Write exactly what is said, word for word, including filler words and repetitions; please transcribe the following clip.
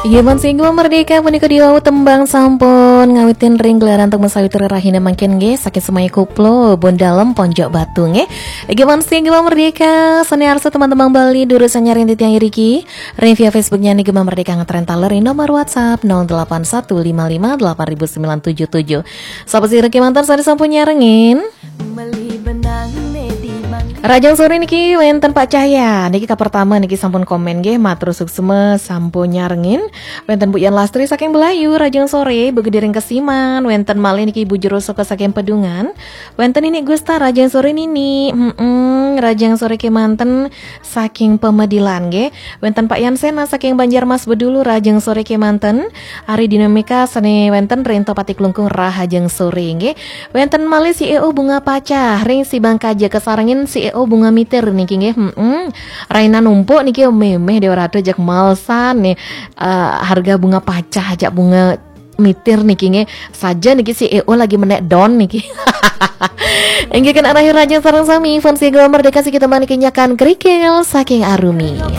Gema sing Gema Merdeka punika diwau tembang sampun ngawitin ring gelaran tembang sawitri rahina mangkin nggih, saking Semai Koplo, Bun Dalem, Ponjok Batu nggih. Gema sing Gema Merdeka, sane arsa teman-teman Bali durus sanyaring titiang iriki. Ring via Facebooknya nih Gema Merdeka ngetren taler ring nomor WhatsApp nol delapan satu lima lima delapan ribu sembilan tujuh tujuh. Sapa sira kemanten sane sampun nyarengin? Rajang sore niki wenten Pak Cahya. Niki ka pertama niki sampun komen nggih, matur suksma sampun nyarengin. Wenten Bu Yan Lastri saking Belayu, rajang sore, Bu Gediring Kesiman, wenten malih niki Bu Jero Soko saking Pedungan. Wenten Nini Gusta, rajang sore Nini. Mm-mm, rajang sore kemanten saking Pemedilan nggih. Wenten Pak Yan Sena saking Banjarmas Bedulu, rajang sore kemanten. Ari Dinamika sane wenten ring Toh Pati Klungkung, rahajeng sore nggih. Wenten malih si E O Bunga Pacah ring Sibang Kaja, kasarengin si E O Bunga Mitir niki nggih. Mm-mm. Raina numpuk niki memeh Dewa Ratu jak malsan nih. Eh, harga bunga pacah jak bunga mitir niki nggih. Saja niki si E O lagi menek don niki. Inggih kan arah rajang sareng sami fans Gema Merdeka siki teman niki nyakan kerikil saking Arumi.